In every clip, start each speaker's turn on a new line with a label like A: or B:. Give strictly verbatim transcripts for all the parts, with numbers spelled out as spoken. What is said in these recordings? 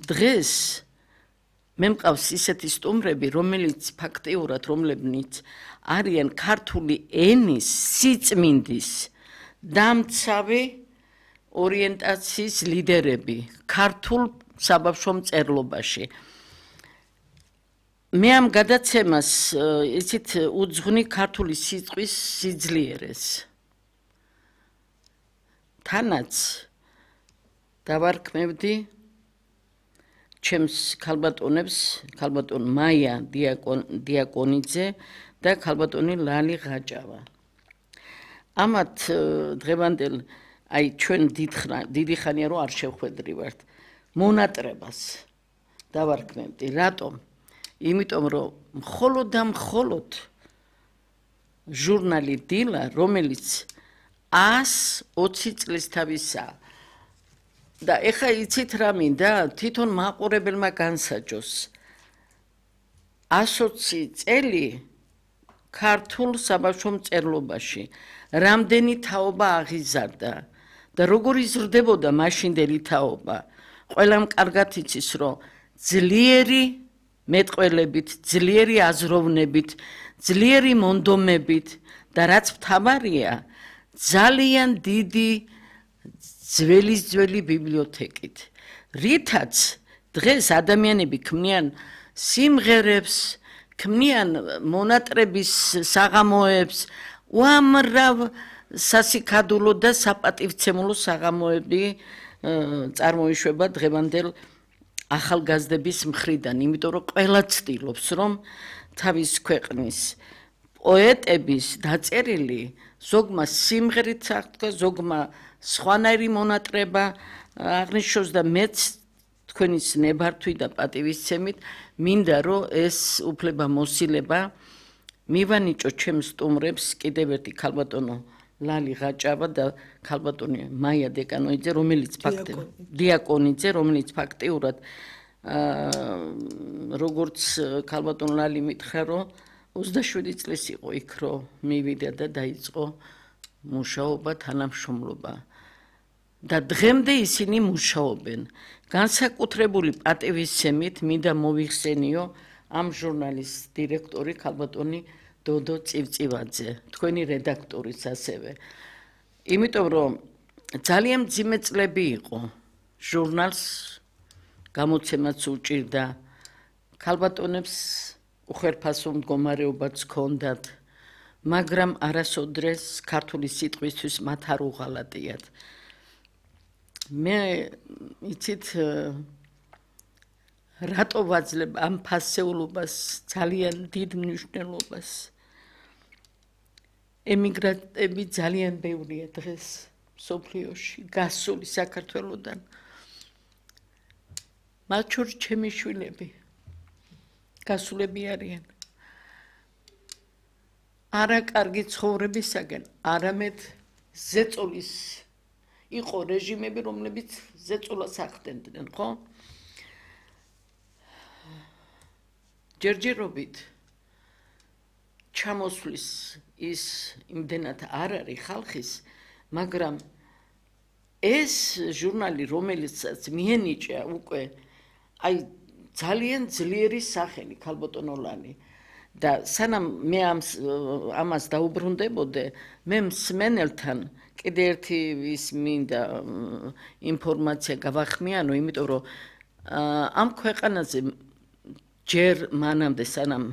A: დღეს მე მყავს ისეთი სტუმრები, რომელიც ფაქტიურად რომლებიც არიან ქართული ენის სიწმინდის დამცავი ორიენტაციის ლიდერები ქართულ საბავშვო მწერლობაში. მე ამ გადაცემას იცით უძღვნი ქართული სიტყვის სიძლიერეს. თანაც დავარქმევდი ჩემს ქალბატონებს, ქალბატონ მაია დიაკონიძე და ქალბატონი ლალი ღაჭავა. ამათ დღევანდელ აი ჩვენ დიდი ხანია რომ არ შევხვედრივართ მონატრებას დავარქმევდი. რატომ? იმიტომ რომ მხოლოდ და მხოლოდ ჟურნალი დილა, რომელიც ას ოცი წლის თავისაა. და ეხა იცით რა მინდა, თვითონ მაყურებელმა განსაჯოს. ას ოცი წელი ქართულ საბავშვო მწერლობაში რამდენი თაობა აღიზარდა და როგორ იზრდებოდა მაშინდელი თაობა. ყველამ კარგად იცის, რომ ძლიერი მეტყველებით, ძლიერი აზროვნებით, ძლიერი მონდომებით და რაც მთავარია, ძალიან დიდი ძველის ძველი ბიბლიოთეკით. რითაც დღეს ადამიანები ქმნიან სიმღერებს, ქმნიან მონატრების საღამოებს, უამრავ სასიქადულო და საპატივცემულო საღამოები წარმოიშვება დღევანდელ ახალგაზრდების მხრიდან, იმიტომ რომ ყველა ცდილობს, რომ თავის ქვეყნის პოეტების დაწერილი ზოგმა სიმღერით აღდგა, ზოგმა სხვანაირი მონატრება აღნიშნოს და მეც თქვენის ნებართვით და პატივისცემით მინდა რომ ეს უფლება მოსილება მივანიჭო ჩემს სტუმრებს კიდევ ერთი ქალბატონო ლალი ღაჭავა და ქალბატონი მაია დეკანოიძე, რომელიც ფაქტიურად დიაკონიძე, რომელიც ფაქტიურად როგორც ქალბატონ ლალი მითხრა, რომ ოცდაშვიდი წლის იყო იქ, რომ მივიდა და დაიწყო მუშაობა, თანამშრომლობა. და დღემდე ისინი მუშაობენ. განსაკუთრებული პატივისცემით მინდა მოვიხსენიო ამ ჟურნალის დირექტორი ქალბატონი დოდო წივწივაძე, თქვენი რედაქტორიც ასევე. იმიტომ რომ ძალიან მძიმე წლები იყო. ჟურნალს გამოცემაც უჭირდა. ქალბატონებს უხერხესო მდგომარეობაც ჰქონდათ, მაგრამ არასოდეს ქართული სიტყვისთვის მათ არ უღალატიათ. მე იცით რატო ვაძლევ ამ ფასეულობას ძალიან დიდ მნიშვნელობას. ემიგრანტები ძალიან ბევრია დღეს მსოფლიოში, გასული საქართველოდან. მათ შორის ჩემი შვილები გასულები არიან. არა კარგი ცხოვრებისაგან, არამედ ზეწოლის იყო რეჟიმები, რომლებიც ზეწოლას ახდენდნენ, ხო? ჯერჯერობით ჩამოსვლის ის იმდენად არ არის ხალხის, მაგრამ ეს ჟურნალი, რომელიცაც მიენიჭა უკვე აი ძალიან ძლიერი სახელი ქალბატონო ლალი და სანამ მე ამას დაუბრუნდებოდე, მე მსმენელთან კიდე ერთი ის მინდა ინფორმაცია გავახმიანო, იმიტომ რომ ამ ქვეყანაზე ჯერ მანამდე სანამ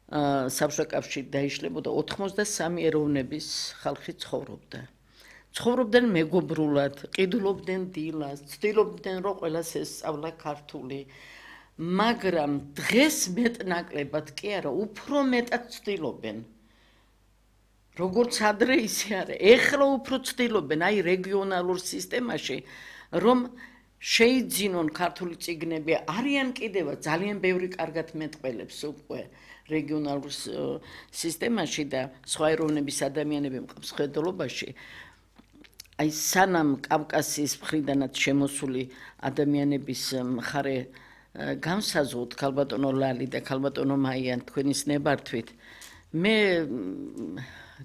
A: საბჭოთა კავშირი დაიშლებოდა ოცდასამი ეროვნების ხალხი ცხოვრობდა. ცხოვრობდნენ მეგობრულად, ყიდულობდნენ დილას, ცდილობდნენ რომ ყველას ესწავლა ქართული. მაგრამ დღეს მეტნაკლებად კი არა, უფრო მეტად ცდილობენ. როგორც ადრე ისე არა, ეხლა უფრო ცდილობენ აი რეგიონალურ სისტემაში, რომ შეიძინონ ქართული წიგნები, არიან კიდევაც ძალიან ბევრი კარგად მეტყველებს უკვე რეგიონალურ სისტემაში და სხვა ეროვნების ადამიანები მყავს ხედელობაში. აი სანამ კავკასიის მხრიდანაც შემოსული ადამიანების მხარე განსაზღვროთ ქალბატონო ლალი და ქალბატონო მაიან თქვენის ნებართვით, მე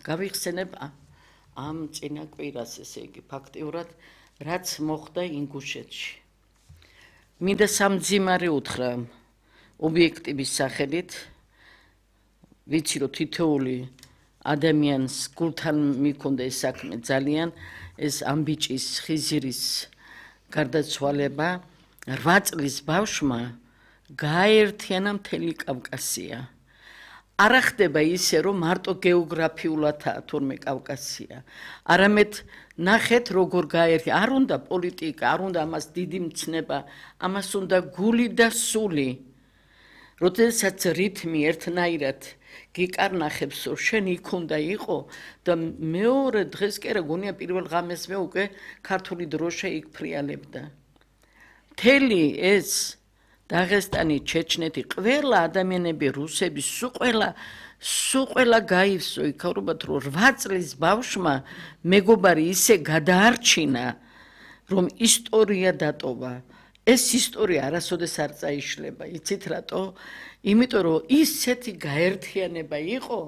A: გავიხსენებ ამ წინა კვირას, ესე იგი ფაქტიურად რაც მოხდა ინგუშეთში. მინდა სამძიმარე უთხრა ობიექტივის სახელით, ვიცი რომ თითოეული ადამიანს გულთან მიქონდა ეს საქმე ძალიან, ეს ამბიჭის ხიზირის გარდაცვალება რვა წლის ბავშვმა გააერთიანა მთელი კავკასია. არა ხდება ისე რომ მარტო გეოგრაფიულადაა თურმე კავკასია, არამედ ნახეთ როგორ გაერთი, არ უნდა პოლიტიკა, არ უნდა ამას დიდი მცნება, ამას უნდა გული და სული. როდესაც რითმი ერთნაირად გიკარნახებს, რომ შენ იქ უნდა იყო და მეორე დღეს კი არა გონია პირველ ღამესმე უკვე ქართული დროშა იქ ფრიალებდა. მთელი ეს დაღესტანი, ჩეჩნეთი, ყველა ადამიანები, რუსები, სულ ყველა, სულ ყველა გაივსო იქაურობათ, რომ რვა წლის ბავშვმა მეგობარი ისე გადაარჩინა, რომ ისტორია დატოვა. ეს ისტორია არასოდეს არ წაიშლება, იცით რატო? იმიტომ რომ ისეთი გაერთიანება იყო,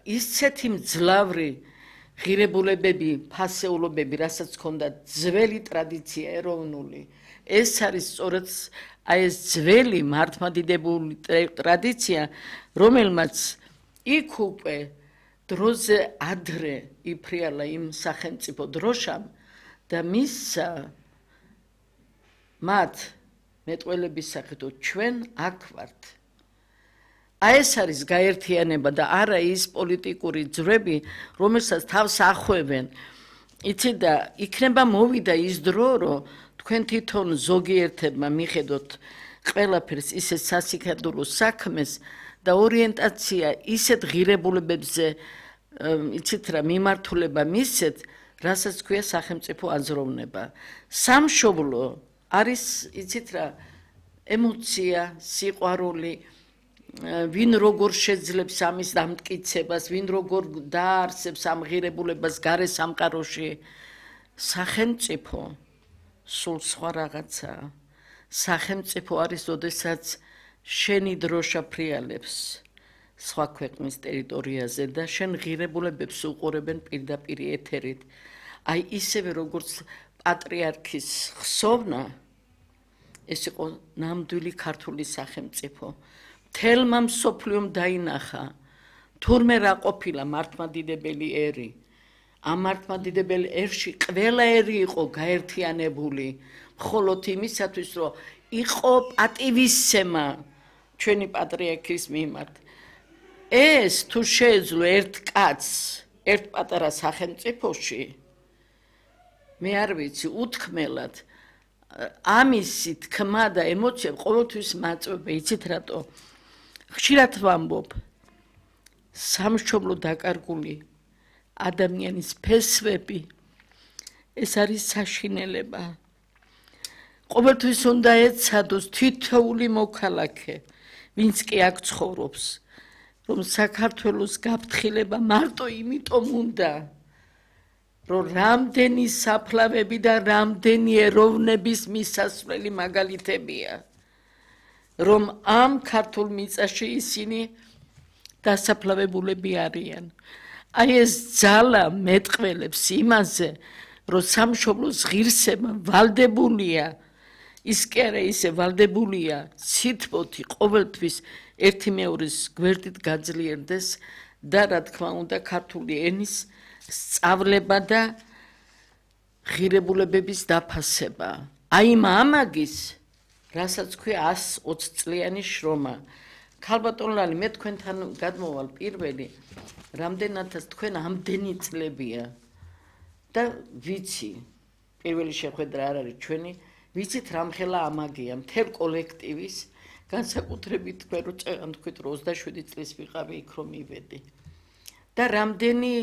A: ისეთი მძლავრი ღირებულებები, ფასეულობები, რასაც ჰქონდა ძველი ტრადიცია ეროვნული. ეს არის სწორედ აი ეს ძველი მართლმადიდებელი ტრადიცია, რომელმაც იქ უკვე დროზე ადრე იფრიალა იმ სახელმწიფო დროშამ და მისცა მათ მეტყველების სახით ჩვენ აქ ვართ. აი ეს არის გაერთიანება და არა ის პოლიტიკური ძვრები, რომელსაც თავს ახვევენ. იცით და იქნება მოვიდა ის დრო, რომ თქვენ თვითონ ზოგიერთებმა მიხედოთ ყველაფერს ისეთ სასიკადურო საქმეს და ორიენტაცია ისეთ ღირებულებებზე, იცით რა, მიმართულება მისცეთ, რასაც ქვია სახელმწიფო აზროვნება. სამშობლო არის, იცით რა, ემოცია, სიყვარული, ვინ როგორ შეძლებს ამის დამტკიცებას, ვინ როგორ დაარსებს ამ ღირებულებას გარე სამყაროში. სახელმწიფო სულ სხვა რაღაცაა. სახელმწიფო არის, როდესაც შენი დროშა ფრიალებს სხვა ქვეყნის ტერიტორიაზე და შენ ღირებულებებს უყურებენ პირდაპირ ეთერით. აი ისევე როგორც პატრიარქის ხსოვნა, ეს იყო ნამდვილი ქართული სახელმწიფო. მთელმა მსოფლიომ დაინახა, თურმე რა ყოფილა მართლმადიდებელი ერი. ამ მართლმადიდებელ ერში ყველა ერი იყო გაერთიანებული, მხოლოდ იმისათვის, რომ იყო პატივისცემა ჩვენი პატრიარქის მიმართ. ეს თუ შეეძლო ერთ კაცს ერთ პატარა სახელმწიფოში, მე არ ვიცი, უთქმელად ამისი თქმა და ემოცია ყოველთვის მაწვება, იცით რატო? ხშირად ვამბობ, სამშობლო დაკარგული ადამიანის ფესვები, ეს არის საშინელება. ყოველთვის უნდა ეცადოს თითოეული მოქალაქე, ვინც კი აქ ცხოვრობს, რომ საქართველოს გაფრთხილება მარტო იმიტომ უნდა, რომ რამდენი საფლავები და რამდენი ეროვნების მისასვლელი მაგალითებია, რომ ამ ქართულ მიწაში ისინი დასაფლავებულები არიან. აი ეს ძალა მეტყველებს იმაზე, რომ სამშობლოს ღირსება ვალდებულია, ის კი არა ისე ვალდებულია, სითბოთი ყოველთვის ერთი მეორის გვერდით გაძლიერდეს და რა თქმა უნდა ქართული ენის სწავლება და ღირებულებების დაფასება. აი მამაგის, რასაც ქვია ასი ოცი წლიანი შრომა. ქალბატონლალი, მე თქვენთან გადმოვალ პირველი, რამდენადაც თქვენ ამდენი წლებია და ვიცი, პირველი შეხვედრა არ არის ჩვენი, ვიცით რამხელა ამაგია მთელ კოლექტივის, განსაკუთრებით თქვენ რო წეგანთქვით რომ ოცდაშვიდი წლის ვიყავი იქ რომ მივედი. და რამდენი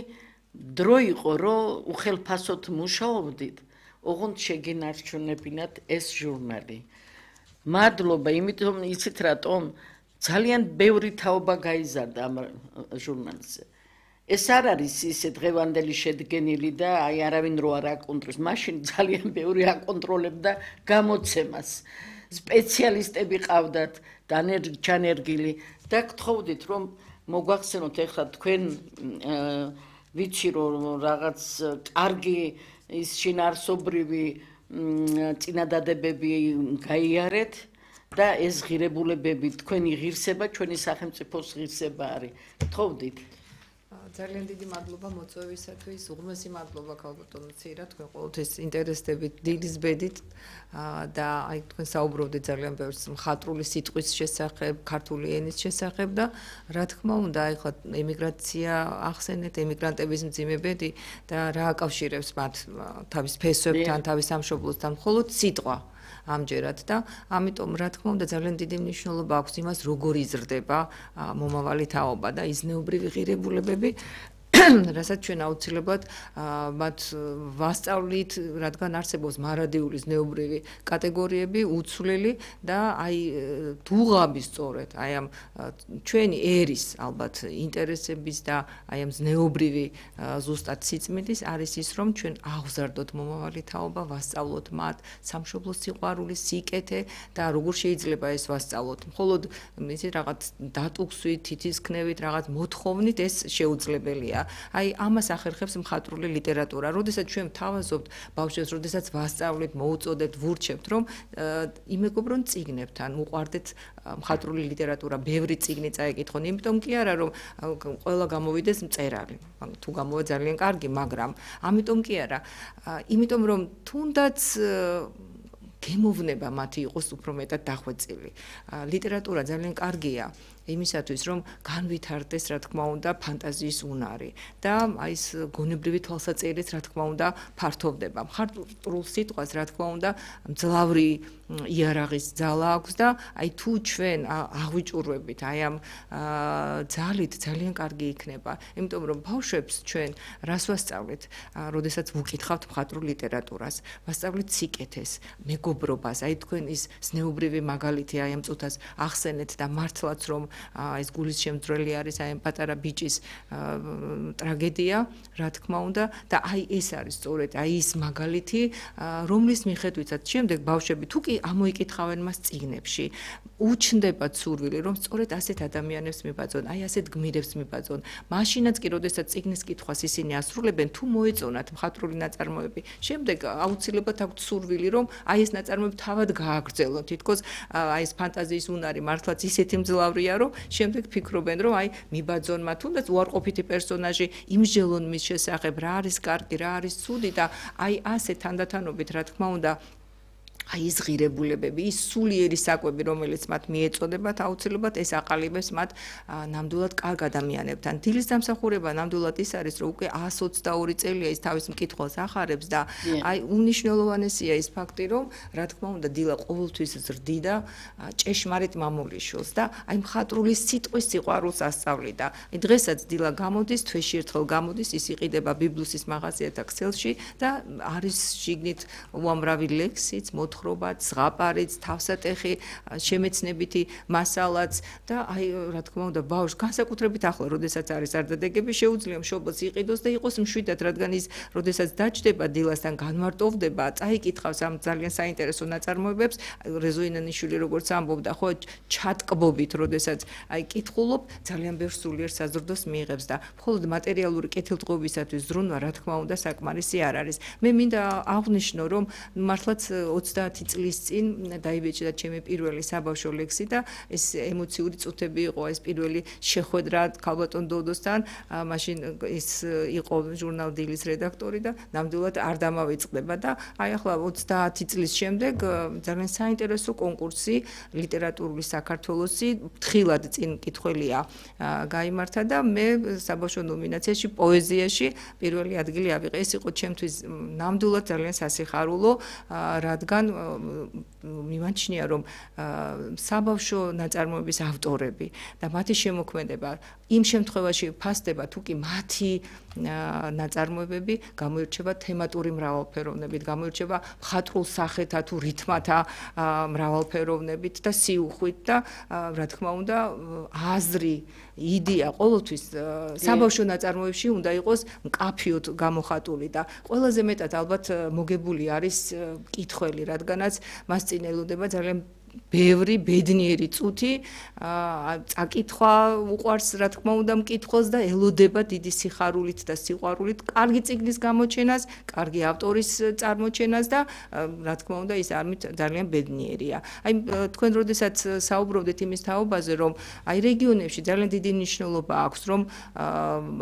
A: დრო იყო რომ უხელფასოდ მუშაობდით, ოღონდ შეგინარჩუნებინათ ეს ჟურნალი. მადლობა, იმიტომ იცით რატომ ძალიან ბევრი თაობა გაიზარდა ამ ჟურნალზე. ეს არ არის ისე დღევანდელი შედგენილი და აი არავინ რო არ აკონტროლებს, მაშინ ძალიან ბევრი აკონტროლებდა გამოცემას. სპეციალისტები ყავდათ, ჩანერგილი და გთხოვდით რომ მოგვახსენოთ ეხლა თქვენ ვიცი რომ რაღაც კარგი ის შინაარსობრივი წინადადებები გაიარეთ და ეს ღირებულებები თქვენი ღირსება, ჩვენი სახელმწიფოს ღირსება არის. გთხოვდით.
B: ძალიან დიდი მადლობა მოწვევისათვის, უღრმესი მადლობა ქალბატონო ცირა, თქვენ ყოველთვის ინტერესდებით დილის ბედით და აი თქვენ საუბრობდით ძალიან ბევრს მხატვრული სიტყვის შესახებ, ქართული ენის შესახებ და რა თქმა უნდა, აი ხა ემიგრაცია ახსენეთ, ემიგრანტების მძიმე ბედი და რა აკავშირებს მათ თავის ფესვებთან, თავის სამშობლოსთან, მხოლოდ სიტყვა. ამჯერად და ამიტომ რა თქმა უნდა ძალიან დიდი მნიშვნელობა აქვს იმას როგორ იზრდება მომავალი თაობა და იზნეობრივი ღირებულებები რასაც ჩვენ აუცილებლად მათ ვასწავლით, რადგან არსებობს მარადიული ზნეობრივი კატეგორიები, უცვლელი და აი დუღაბი სწორედ, აი ამ ჩვენი ერის ალბათ ინტერესების და აი ამ ზნეობრივი ზუსტად სიწმინდის არის ის, რომ ჩვენ აღზარდოთ მომავალი თაობა, ვასწავლოთ მათ სამშობლოს სიყვარული, სიკეთე და როგორ შეიძლება ეს ვასწავლოთ. მხოლოდ ისეთ რაღაც დატუქსვით, თითისქნევით, რაღაც მოთხოვნით ეს შეუძლებელია. აი ამას ახერხებს მხატვრული ლიტერატურა. როდესაც ჩვენ ვთავაზობთ ბავშვებს, როდესაც ვასწავლეთ, მოუწოდებთ, ვურჩევთ, რომ იმეგობრონ წიგნებთან, უყვარდეთ მხატვრული ლიტერატურა, ბევრი წიგნი წაეკითხონ, იმიტომ კი არა, რომ ყველა გამოვიდეს მწერალი. თუ გამოვა ძალიან კარგი, მაგრამ ამიტომ კი არა. იმიტომ რომ თუნდაც გემოვნება მათი იყოს უფრო მეტად დახვეწილი. ლიტერატურა ძალიან კარგია იმისათვის, რომ განვითარდეს, რა თქმა უნდა, ფანტაზიის უნარი და აი ეს გონებრივი თვალსაჩინოც, რა თქმა უნდა, ფართოვდება. მხატვრულ სიტყვას, რა თქმა უნდა, მძლავრი იარაღის ძალა აქვს და აი თუ ჩვენ აღვიჭურვებით აი ამ ძალით ძალიან კარგი იქნება. იმიტომ რომ ბავშვებს ჩვენ რას ვასწავლეთ, როდესაც ვუკითხავთ მხატვრულ ლიტერატურას, ვასწავლეთ სიკეთეს, მეგობრობას, აი თქვენ ის ზნეობრივი მაგალითი აი ამ წუთას ახსენეთ და მართლაც რომ ეს გულის შემძვრელი არის აი ამ პატარა ბიჭის ტრაგედია, რა თქმა უნდა და აი ეს არის სწორედ აი ის მაგალითი, რომლის მიხედვითაც შემდეგ ბავშვები თუ კი ამოიკითხავენ მას წიგნებში, უჩნდებათ სურვილი, რომ სწორედ ასეთ ადამიანებს მიბაძონ, აი ასეთ გმირებს მიბაძონ. მაშინაც კი, როდესაც წიგნის კითხვას ისინი ასრულებენ, თუ მოეწონათ მხატვრული ნაწარმოები, შემდეგ აუცილებლად აქვთ სურვილი, რომ აი ეს ნაწარმოები თავად გააგრძელონ. თითქოს აი ეს ფანტაზიის უნარი მართლაც ისეთი მძლავრია, რომ შემდეგ ფიქრობენ, რომ აი მიბაძონ მათ, თუნდაც უარყოფითი პერსონაჟი, იმსჯელონ მის შესახებ, რა არის კარგი, რა არის ცუდი და აი ასე თანდათანობით, რა თქმა უნდა, აი ეს ღირებულებები, ის სულიერი საკვები, რომელიც მათ მიეწოდებათ, აუცილებლად ეს აყალიბებს მათ ნამდვილად კარგ ადამიანებთან. დილის დამსახურება ნამდვილად ის არის, რომ უკვე εκατს ოცდაორი წელია ის თავის მკითხველს ახარებს და აი უნიშნელოვანესია ის ფაქტი, რომ რა თქმა უნდა, დილა ყოველთვის ზრდიდა ჭეშმარიტ მამულიშვილს და აი მხატვრული სიტყვის სიყვარულს ასწავლიდა. აი დღესაც დილა გამოდის, თვეში ერთხელ გამოდის, ის იყიდება ბიბლუსის მაღაზიათა ქსელში და არის შიგნით უამრავი ლექსიც, მოთხრობაც, ზღაპარიც, თავსატეხი, შემეცნებითი მასალაც და აი რა თქმა უნდა ბავშვს განსაკუთრებით ახლა, როდესაც არის არდადეგები, შეუძლია მშობელს იყიდოს და იყოს მშვიდად, რადგან ის როდესაც დაჯდება დილასთან, განმარტოვდება, წაიკითხავს ამ ძალიან საინტერესო ნაწარმოებებს, რეზოინანიშვილი როგორც ამბობდა, ხო, ჩატკბობით, როდესაც აი კითხულობ, ძალიან ბევრ სულიერ საზრდოს მიიღებს და მხოლოდ მატერიალური კეთილდღეობისათვის ზრუნვა, რა თქმა უნდა, საკმარისი არ არის. მე მინდა აღვნიშნო, რომ მართლაც ოცდაათი წლის წინ დაიბეჭდა ჩემი პირველი საბავშვო ლექსი და ეს ემოციური წუთები იყო, ეს პირველი შეხვედრა ქალბატონ დოდოსთან, მაშინ ის იყო ჟურნალ დილის რედაქტორი და ნამდვილად არ დამავიწყდება და აი ახლა ოცდაათი წლის შემდეგ ძალიან საინტერესო კონკურსი ლიტერატურული საქართველოსი თხილად წინ კითხველია გაიმართა და მე საბავშვო ნომინაციაში პოეზიაში პირველი ადგილი ავიღე. ეს იყო ჩემთვის ნამდვილად ძალიან სასიხარულო, რადგან მიმაჩნია, რომ საბავშვო ნაწარმოების ავტორები და მათი შემოქმედება იმ შემთხვევაში ფასდება, თუ კი მათი ნაწარმოებები გამოირჩევა თემატური მრავალფეროვნებით, გამოირჩევა მხატვრულ სახეთა თუ რითმათა მრავალფეროვნებით და სიუხვით და რა თქმა უნდა აზრი, იდეა ყოველთვის საბავშვო ნაწარმოებში უნდა იყოს მკაფიოდ გამოხატული და ყველაზე მეტად ალბათ მოგებული არის კითხველი, რადგანაც მას წინ ელოდება ძალიან ბევრი ბედნიერი წუთი წაკითხვა უყვარს რა თქმა უნდა მკითხველს და ელოდება დიდი სიხარულით და სიყვარულით კარგი წიგნის გამოჩენას, კარგი ავტორის წარმოჩენას და რა თქმა უნდა ის ამით ძალიან ბედნიერია. აი თქვენ როდესაც საუბრობდით იმის თაობაზე, რომ აი რეგიონებში ძალიან დიდი მნიშვნელობა აქვს, რომ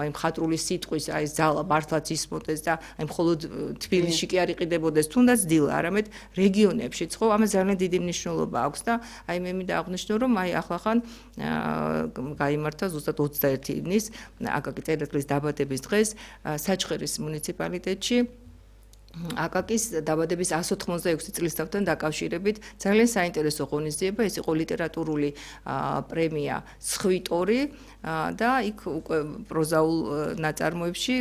B: აი მხატვრული სიტყვის აი ძალა მართლაც ისმოდეს და აი მხოლოდ თბილისში კი არ იყიდებოდეს, თუნდაც დილა, არამედ რეგიონებშიც ხო ამას ძალიან დიდი მნიშვნელობა აქვს და აი მე მინდა აღვნიშნო, რომ აი ახლახან გაიმართა ზუსტად ოცდაერთი ივნის აკაკი წერეთლის დაბადების დღეს საჩხერის მუნიციპალიტეტში აკაკის დაბადების εκατს ოთხმოცდაექვსი წლისთავთან დაკავშირებით ძალიან საინტერესო ღონისძიება, ეს იყო ლიტერატურული პრემია სხვიტორი და იქ უკვე პროზაულ ნაწარმოებში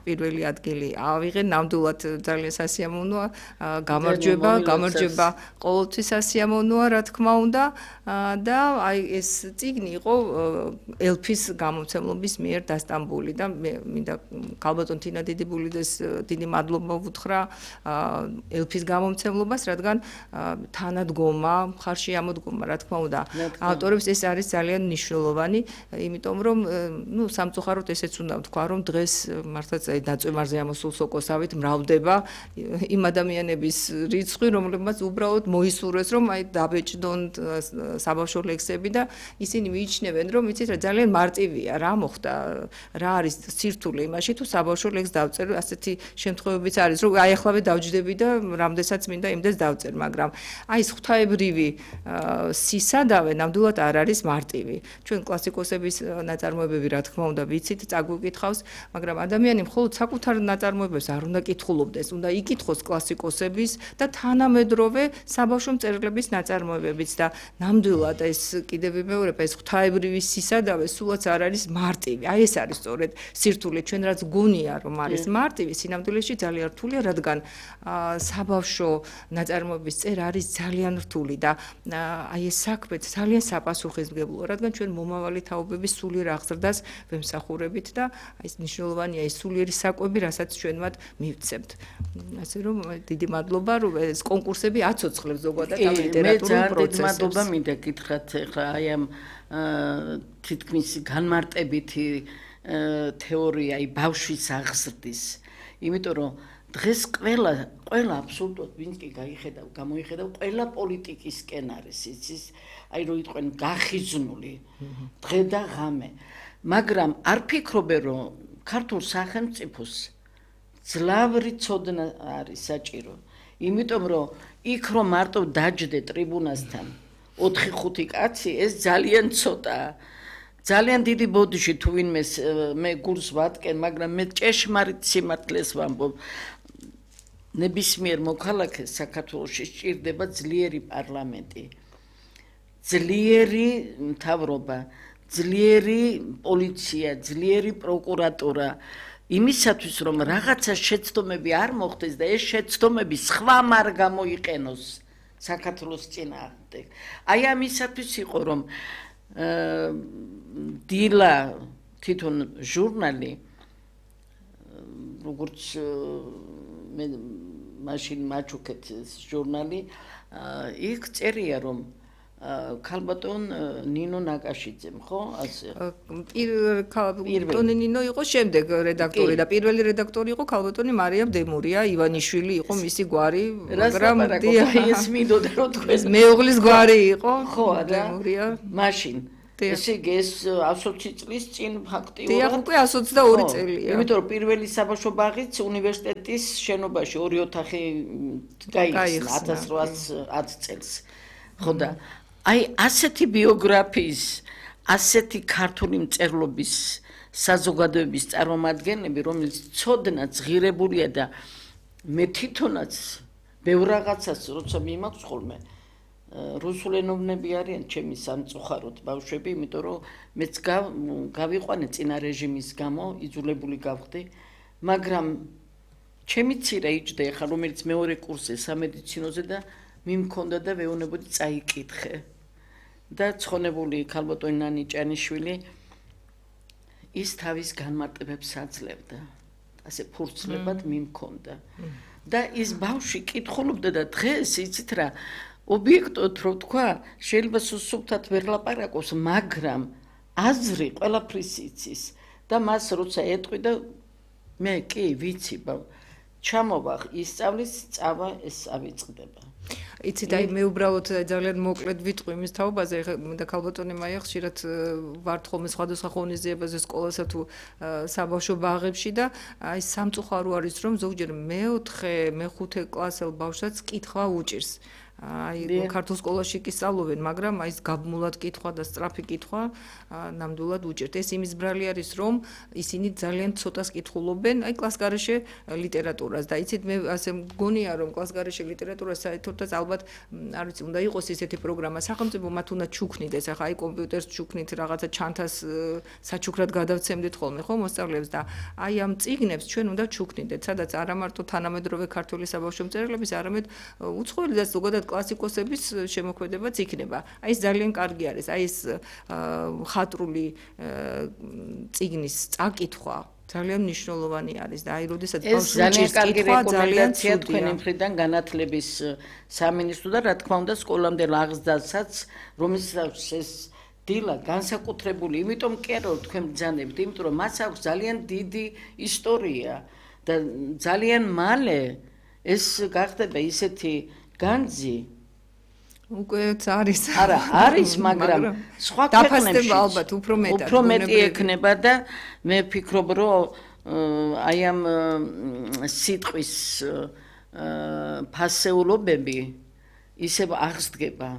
B: პირველი ადგილი ავიღე, ნამდვილად ძალიან სასიამოვნოა, გამარჯვება, გამარჯვება ყოველთვის სასიამოვნოა, რა თქმა უნდა და აი ეს წიგნი იყო ელფის გამომცემლობის მიერ დასტამბული და მე მინდა ქალბატონ თინა დიდიბულიძეს დიდი მადლობა ვუთხრა ელფის გამომცემლობას, რადგან თანადგომა, მხარში ამოდგომა, რა თქმა უნდა, ავტორებს ეს არის ძალიან მნიშვნელოვანი, იმიტომ რომ ნუ სამწუხაროდ ესეც უნდა ვთქვა, რომ დღეს მართლაც აი დაწვემარზე ამოსულ სოკოსავით მრავლდება იმ ადამიანების რიცხვი, რომლებმაც უბრალოდ მოისურვეს, რომ აი დაბეჭდონ საბავშვო ლექსები და ისინი მიიჩნევენ, რომ იცით რა ძალიან მარტივია, რა მოხდა, რა არის სირთულე იმაში, თუ საბავშვო ლექსს დავწერ, ასეთი შემთხვევებიც არის, რომ აი ახლავე დავჯდები და რამდენსაც მინდა იმდეს დავწერ, მაგრამ აი ეს ღვთაებრივი სისადავე ნამდვილად არ არის მარტივი. ჩვენ კლასიკოსების ნაწარმოებები რა თქმა უნდა ვიცით, წაგვიკითხავს, მაგრამ ადამიანი მხოლოდ საკუთარ ნაწარმოებებს არ უნდა კითხულობდეს, უნდა იკითხოს კლასიკოსების და თანამედროვე საბავშვო მწერლების ნაწარმოებებიც და ნამდვილად ეს კიდევ ვიმეორებ, ეს ღვთაებრივი სისადავე სულაც არ არის მარტივი. აი ეს არის სწორედ სირთულე, ჩვენ რაც გონია რომ არის მარტივი, სინამდვილეში ძალიან რთულია, რადგან საბავშვო ნაწარმოების წერა არის ძალიან რთული და აი ეს საქმე ძალიან საპასუხისმგებლოა, რადგან ჩვენ მომავალი თაობების სულიერ აღზრდას ვემსახურებით და აი ეს მნიშვნელოვანია ეს სულიერი საკვები, რასაც ჩვენ მათ მივცემთ. ასე რომ დიდი მადლობა, რომ ეს კონკურსები აცოცხლებს ზოგადად ამ ლიტერატურულ პროცესებს.
A: მე ძალიან დიდი მადლობა მინდა გითხრათ ახლა აი ამ თითქმის განმარტებითი თეორია, აი ბავშვის აღზრდის, იმიტომ რომ დღეს ყველა ყველა აბსოლუტურად ვინც კი გაიხედავ, გამოიხედავ, ყველა პოლიტიკისკენ არის იცის, აი რო იყვენ გახიზნული დღე და ღამე, მაგრამ არ ფიქრობენ რომ ქართულ სახელმწიფოს ძლავრი ცოდნა არის საჭირო, იმიტომ რომ იქ რომ მარტო დაჯდე ტრიბუნასთან ოთხი ხუთი კაცი ეს ძალიან ცოტაა. ძალიან დიდი ბოდიში თუ ვინმეს მე გულს ვატკენ, მაგრამ მე ჭეშმარიტ სიმართლეს ვამბობ. ნებისმიერ მოქალაქეს საქართველოში სჭირდება ძლიერი პარლამენტი, ძლიერი მთავრობა, ძლიერი პოლიცია, ძლიერი პროკურატურა, იმისათვის რომ რაღაცა შეცდომები არ მოხდეს და ეს შეცდომები სხვამ არ გამოიყენოს საქართველოს წინააღმდეგ. აი ამისათვის იყო რომ დილა თვითონ ჟურნალი, როგორც მე მაშინ მაჩუქეთ ჟურნალი, იქ წერია რომ ქალბატონ ნინო ნაკაშიძემ, ხო? ასე.
B: ქალბატონი ნინო იყო შემდეგ რედაქტორი და პირველი რედაქტორი იყო ქალბატონი მარიამ დემურია, ივანიშვილი იყო მისი გვარი, მაგრამ
A: ეს მინდოდა რომ თქვენ
B: მეუღლის გვარი იყო,
A: ხო,
B: დემურია.
A: მაშინ ესე იგი ეს ოცი წლის წინ ფაქტიურად
B: დიახ, უკვე εκατს ოცდაორი წელია.
A: იმიტომ რომ პირველი საბავშვო ბაღიც უნივერსიტეტის შენობაში ორი ოთახი გაიხსნა ათას რვაას ათი წელს. ხო და აი ასეთი ბიოგრაფიის, ასეთი ქართული მწერლობის საზოგადოების წარმომადგენლები, რომელიც ცოდნა ძღირებულია და მე თვითონაც ბევრ რაღაცას როცა მიმაქვს ხოლმე რუსულენოვნები არიან ჩემი სამწუხაროდ ბავშვები, იმიტომ რომ მეც გავიყვანე წინა რეჟიმის გამო, იძულებული გავხდი, მაგრამ ჩემი ცირა იჯდა ახლა რომელიც მეორე კურსზე სამედიცინოზე და მიმქონდა და ვეუბნებოდი წაიკითხე. და ცხონებული ქალბატონი ნანი ჭანიშვილი ის თავის განმარტებებს აძლევდა. ასე ფურცლებად მიმქონდა. და ის ბავშვი კითხულობდა და დღეს იცით რა ობიექტოდ რო თქვა, შეიძლება სუსუფთად ვერ ლაპარაკოს, მაგრამ აზრი ყველაფრის იცის და მას როცა ეტყვი და მე კი ვიცი, ჩამოვა ისწავლის, წავა ეს ავიწყდება.
B: იცით, აი მე უბრალოდ ძალიან მოკლედ ვიტყვი იმის თაობაზე, და ქალბატონი მაია ხშირად ვართ ხოლმე სხვადასხვა ღონისძიებაზე სკოლასა თუ საბავშვო ბაღებში და აი სამწუხარო არის, რომ ზოგჯერ მეოთხე, მეხუთე კლასელ ბავშვსაც კითხვა უჭირს. აი ქართულ სკოლაში კი სწავლობენ, მაგრამ აი ეს გაბმულად კითხვა და სწრაფი კითხვა ნამდვილად უჭირთ. ეს იმის ბრალი არის, რომ ისინი ძალიან ცოტას კითხულობენ, აი კლასგარეშე ლიტერატურას და იცით მე ასე მგონია, რომ კლასგარეშე ლიტერატურას საერთოდაც ალბათ არ ვიცი, უნდა იყოს ისეთი პროგრამა, სახელმწიფო მათ უნდა ჩუქნიდეს, ახლა აი კომპიუტერს ჩუქნით, რაღაცა ჩანთას საჩუქრად გადავცემდით ხოლმე, ხო, მოსწავლეებს და აი ამ წიგნებს ჩვენ უნდა ჩუქნიდეთ, სადაც არა მარტო თანამედროვე ქართული საბავშვო მწერლების, არამედ უცხოელი და ზოგადად კლასიკოსების შემოქმედებაც იქნება. აი ეს ძალიან კარგი არის. აი ეს ხატრული წიგნის წაკითხვა ძალიან მნიშვნელოვანი არის და აი როდესაც ბავშვი
A: ძალიან კარგი რეკომენდაცია თქვენი მხრიდან განათლების სამინისტრო და რა თქმა უნდა სკოლამდე ლაღზდასაც რომელსაც ეს დილა განსაკუთრებული, იმიტომ კი არა რომ თქვენ ბრძანებთ, იმიტომ რომ მას აქვს ძალიან დიდი ისტორია და ძალიან მალე ეს გახდება ისეთი განძი
B: უკვე არის
A: არა არის მაგრამ სხვა
B: დაფასდება ალბათ უფრო მეტად
A: უფრო მეტი ექნება და მე ვფიქრობ რომ აი ამ სიტყვის ფასეულობები ისევ აღსდგება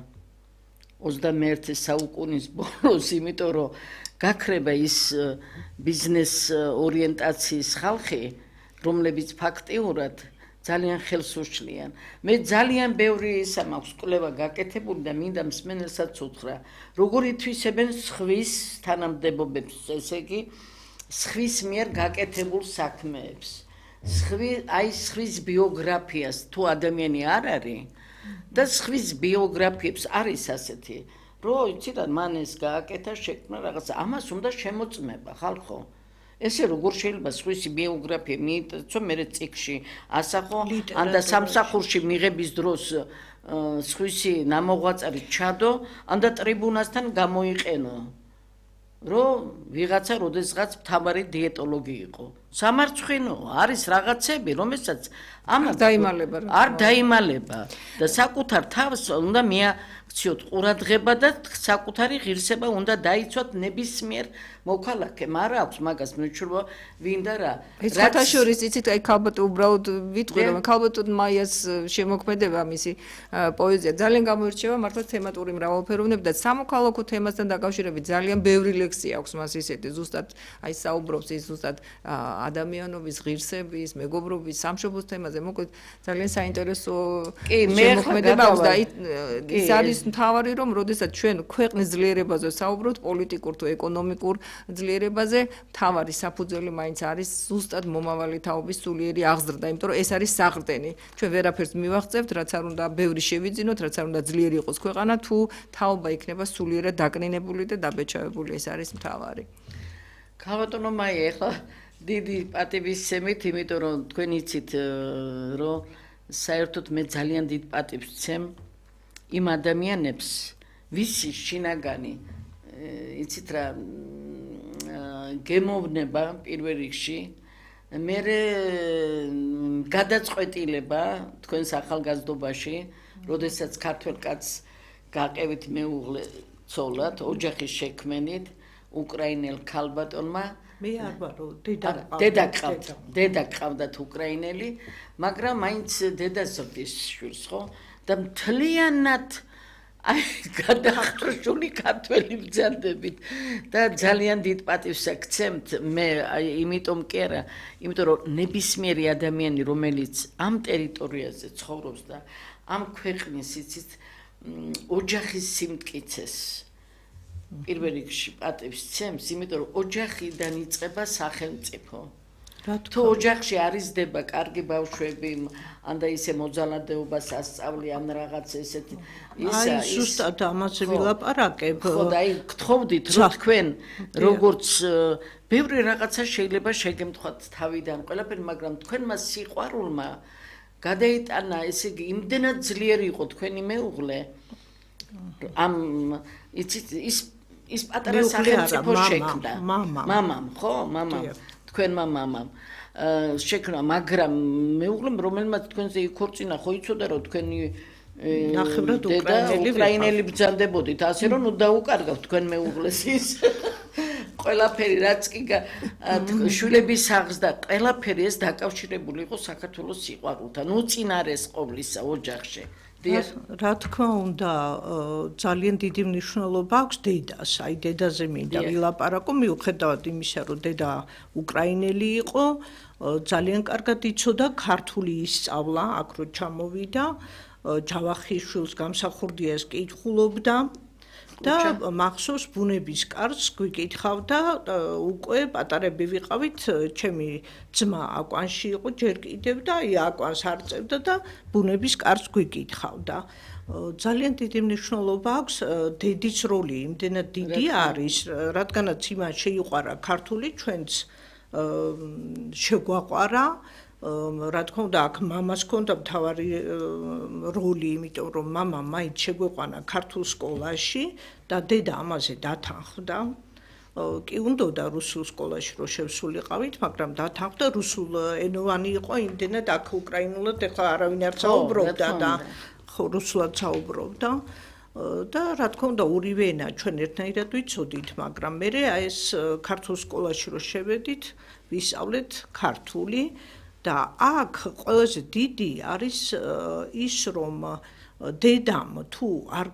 A: ოცდამეერთე საუკუნის ბოლოს, იმიტომ რომ გაქრება ის ბიზნეს ორიენტაციის ხალხი, რომლებიც ფაქტიურად ძალიან ხელს უშლიან. მე ძალიან ბევრი ისა მაქვს კვლევა გაკეთებული და მინდა მსმენელსაც უთხრა, როგორ ითვისებენ სხვის თანამდებობებს, ესე იგი, სხვის მიერ გაკეთებულ საქმეებს. სხვი, აი სხვის ბიოგრაფიას თუ ადამიანი არ არის და სხვის ბიოგრაფიებს არის ასეთი, რომ იცი რა, მან ეს გააკეთა, შექმნა რაღაც, ამას უნდა შემოწმება ხალხო. ესე როგორ შეიძლება სხვისი ბიოგრაფია მიიწვო მე წიგნში ასახო ან და სამსახურში მიღების დროს სხვისი ნამოღვაწარი ჩადო ან და ტრიბუნასთან გამოიყენო რომ ვიღაცა როდესღაც მთავარი დიეტოლოგი იყო სამარცხვინო არის რაღაცები რომელსაც ამას
B: დაიმალება
A: არ დაიმალება და საკუთარ თავს უნდა მიაქციოთ ყურადღება და საკუთარი ღირსება უნდა დაიცვათ ნებისმიერ მოქალაქემ არ აქვს მაგას მეჩვენა ვინდა რა
B: ეს ხათაშორის იცით აი ქალბატონ უბრალოდ ვიტყვი რომ ქალბატონ მაიას შემოქმედება მისი პოეზია ძალიან გამოირჩევა მართლა თემატური მრავალფეროვნებით და სამოქალაქო თემასთან დაკავშირებით ძალიან ბევრი ლექსი აქვს მას ისეთი ზუსტად აი საუბრობს ის ზუსტად ადამიანობის ღირსების მეგობრობის სამშობლოს თემაზე მოკლედ ძალიან საინტერესო შემოქმედება აქვს და ის არის მთავარი რომ როდესაც ჩვენ ქვეყნის ძლიერებაზე საუბრობთ პოლიტიკურ თუ ეკონომიკურ ძლიერებაზე მთავარი საფუძველი მაინც არის ზუსტად მომავალი თაობის სულიერი აღზრდა, იმიტომ რომ ეს არის საყრდენი. ჩვენ ვერაფერს მივაღწევთ, რაც არ უნდა ბევრი შევიძინოთ, რაც არ უნდა ძლიერი იყოს ქვეყანა, თუ თაობა იქნება სულიერად დაკნინებული და დაბეჭავებული, ეს არის მთავარი.
A: ქალბატონო მაია, ეხლა დიდი პატივისცემით, იმიტომ რომ თქვენ იცით, რომ საერთოდ მე ძალიან დიდ პატივს ვცემ იმ ადამიანებს, ვისი შინაგანი იცით რა გემოვნება პირველ რიგში მე გადაწყვეტილება თქვენს ახალგაზრდობაში, როდესაც ქართველ კაცს გაყევით მეუღლე ცოლად, ოჯახის შექმენით უკრაინელ ქალბატონმა
C: მე არ ვარო დედა
A: დედა ყავთ დედა ყავდათ უკრაინელი, მაგრამ მაინც დედა ზრდის შვილს ხო და მთლიანად აი გადახრშული ქართველი ბრძანდებით და ძალიან დიდ პატივს აქცემთ მე იმიტომ კი არა, იმიტომ რომ ნებისმიერი ადამიანი რომელიც ამ ტერიტორიაზე ცხოვრობს და ამ ქვეყნის იცით ოჯახის სიმტკიცეს პირველ რიგში პატივს ცემს, იმიტომ რომ ოჯახიდან იწყება სახელმწიფო. თუ ოჯახში არის დება კარგი ბავშვები, ან და ისე მოძალადეობას ასწავლი ან რაღაც ესეთ
C: ისა ის ზუსტად ამაზე ვილაპარაკებ.
A: ხო და აი გთხოვდით რომ თქვენ როგორც ბევრი რაღაცა შეიძლება შეგემთხვათ თავიდან ყველაფერი, მაგრამ თქვენმა სიყვარულმა გადაიტანა, ესე იგი, იმდენად ძლიერი იყო თქვენი მეუღლე. ამ იცით ის ის პატარა სახელმწიფო შექმნა. მამამ, ხო, მამამ. თქვენმა მამამ. შექმნა, მაგრამ მეუღლემ რომელმაც თქვენზე იქორწინა, ხო იცოდა რომ თქვენი
C: ნახევრად
A: უკრაინელი ბრძანდებოდით, ასე რომ ნუ დაუკარგავთ თქვენ მეუღლეს ის ყველაფერი რაც კი შვილების სახლს და ყველაფერი ეს დაკავშირებული იყო საქართველოს სიყვარულთან, უწინარეს ყოვლისა ოჯახში.
C: რა თქმა უნდა, ძალიან დიდი მნიშვნელობა აქვს დედას, აი დედაზე მინდა ვილაპარაკო, მიუხედავად იმისა, რომ დედა უკრაინელი იყო, ძალიან კარგად იცოდა ქართული ისწავლა, აქ რო ჩამოვიდა, ჯავახიშვილს გამსახურდიას კითხულობდა და მახსოვს ბუნების კარს გვიკითხავდა, უკვე პატარები ვიყავით, ჩემი ძმა აკვანში იყო ჯერ კიდევ და აი აკვანს არ წევდა და ბუნების კარს გვიკითხავდა. ძალიან დიდი მნიშვნელობა აქვს დედის როლი, იმდენად დიდი არის, რადგანაც იმან შეიყვარა ქართული, ჩვენც შეგვაყვარა. რა თქმა უნდა, აქ მამას ჰქონდა მთავარი როლი, იმიტომ რომ მამა მაინც შეგვეყვანა ქართულ სკოლაში და დედა ამაზე დათანხმდა. კი უნდოდა რუსულ სკოლაში რომ შევსულიყავით, მაგრამ დათანხმდა, რუსულ ენოვანი იყო, იმდენად აქ უკრაინულად ეხლა არავინ არ საუბრობდა და ხო რუსულად საუბრობდა. და რა თქმა უნდა, ორივე ენა ჩვენ ერთნაირად ვიცოდით, მაგრამ მე ეს ქართულ სკოლაში რომ შევედით, ვისწავლეთ ქართული. და აქ ყველაზე დიდი არის ის, რომ დედამ თუ არ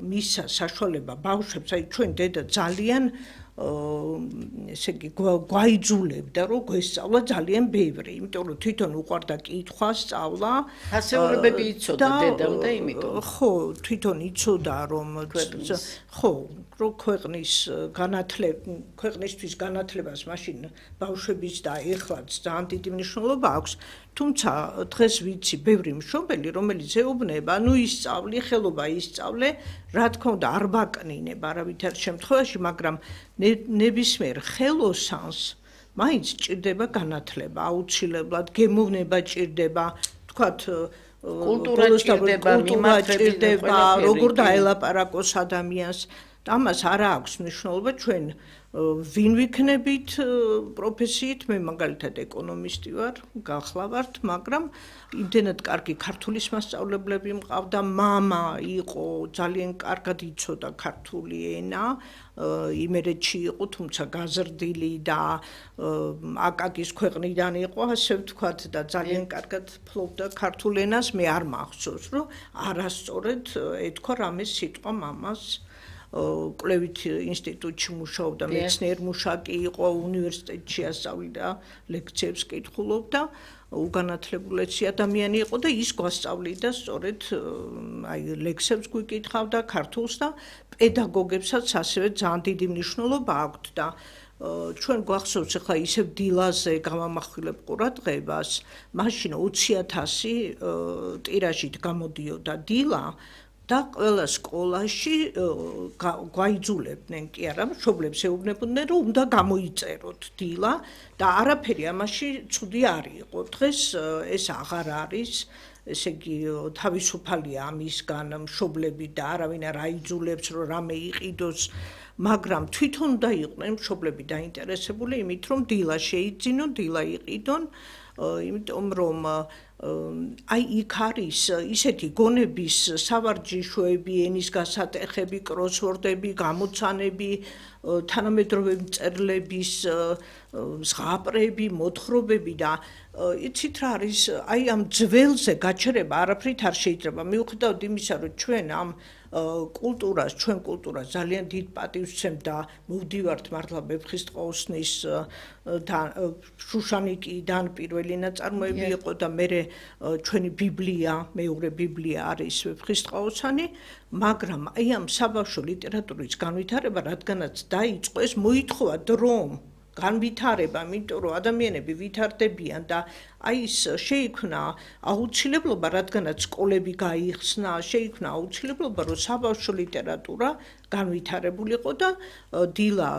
C: მისცა საშუალება ბავშვებს, აი ჩვენ დედა ძალიან ესე იგი გვაიძულებდა, რომ გვესწავლა ძალიან ბევრი, იმიტომ რომ თვითონ უყვარდა კითხვა, სწავლა.
A: ასეულებები იცოდა დედამ და იმიტომ.
C: ხო, თვითონ იცოდა, რომ ხო, რომ ქვეყნის განათლება, ქვეყნისთვის განათლებას მაშინ ბავშვების და ეხლაც ძალიან დიდი მნიშვნელობა აქვს. თუმცა დღეს ვიცი ბევრი მშობელი, რომელიც ეუბნება, ნუ ისწავლი, ხელობა ისწავლე, რა თქმა უნდა, არ ბაკნინებ არავითარ შემთხვევაში, მაგრამ ნებისმიერ ხელოსანს მაინც ჭირდება განათლება, აუცილებლად გემოვნება ჭირდება, თქვათ
A: კულტურა ჭირდება,
C: ჭირდება, როგორ დაელაპარაკოს ადამიანს. ამას არ აქვს მნიშვნელობა ჩვენ ვინ ვიქნებით პროფესიით, მე მაგალითად ეკონომისტი ვარ, გახლავართ, მაგრამ იმდენად კარგი ქართულის მასწავლებლები მყავდა, მამა იყო, ძალიან კარგად იცოდა ქართული ენა, იმერეთში იყო, თუმცა გაზრდილი და აკაკის ქვეყნიდან იყო, ასე ვთქვათ და ძალიან კარგად ფლობდა ქართულ ენას, მე არ მახსოვს, რომ არასწორად ეთქვა რამე სიტყვა მამას. კვლევით ინსტიტუტში მუშაობდა, მეცნიერ მუშაკი იყო, უნივერსიტეტში ასწავლიდა, ლექციებს კითხულობდა, უგანათლებულესი ადამიანი იყო და ის გვასწავლიდა სწორედ აი ლექსებს გვიკითხავდა ქართულს და პედაგოგებსაც ასევე ძალიან დიდი მნიშვნელობა აქვთ და ჩვენ გვახსოვს ახლა ისევ დილაზე გამამახვილებ ყურადღებას, მაშინ ოცი ათასი ტირაჟით გამოდიოდა დილა და ყველა სკოლაში გვაიძულებდნენ, კი არა, მშობლებს ეუბნებოდნენ, რომ უნდა გამოიწეროთ დილა და არაფერი ამაში ცუდი არ იყო. დღეს ეს აღარ არის, ესე იგი თავისუფალია ამისგან მშობლები და არავინ არ აიძულებს, რომ რამე იყიდოს, მაგრამ თვითონ უნდა იყვნენ მშობლები დაინტერესებული იმით, რომ დილა შეიძინონ, დილა იყიდონ, იმიტომ რომ აი იქ არის ისეთი გონების სავარჯიშოები, ენის გასატეხები, კროსვორდები, გამოცანები, თანამედროვე მწერლების ზღაპრები, მოთხრობები და იცით რა არის, აი ამ ძველზე გაჩერება არაფრით არ შეიძლება. მიუხედავად იმისა, რომ ჩვენ ამ კულტურას, ჩვენ კულტურას ძალიან დიდ პატივს ვცემთ და მოვდივართ მართლა ვეფხისტყაოსნის შუშანიკიდან პირველი ნაწარმოები იყო და მერე ჩვენი ბიბლია, მეორე ბიბლია არის ვეფხისტყაოსანი, მაგრამ აი ამ საბავშვო ლიტერატურის განვითარება, რადგანაც დაიწყო, ეს მოითხოვა დრომ, განვითარება, იმიტომ რომ ადამიანები ვითარდებიან და აი ის შეიქმნა აუცილებლობა, რადგანაც სკოლები გაიხსნა, შეიქმნა აუცილებლობა, რომ საბავშვო ლიტერატურა განვითარებულიყო და დილა,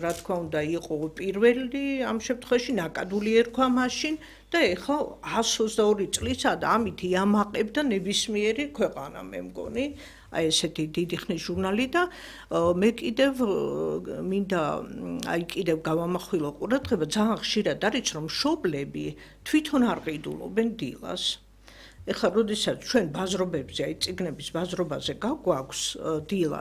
C: რა თქმა უნდა, იყო პირველი ამ შემთხვევაში ნაკადული ერქვა მაშინ და ეხლა ას ოცდაორი წლისაა და ამით იამაყებდა ნებისმიერი ქვეყანა, მე მგონი. აი ესეთი დიდი ხნის ჟურნალი და მე კიდევ მინდა აი კიდევ გავამახვილო ყურადღება ძალიან ხშირად არის რომ მშობლები თვითონ არ ყიდულობენ დილას. ეხლა როდესაც ჩვენ ბაზრობებზე აი წიგნების ბაზრობაზე გაგვაქვს დილა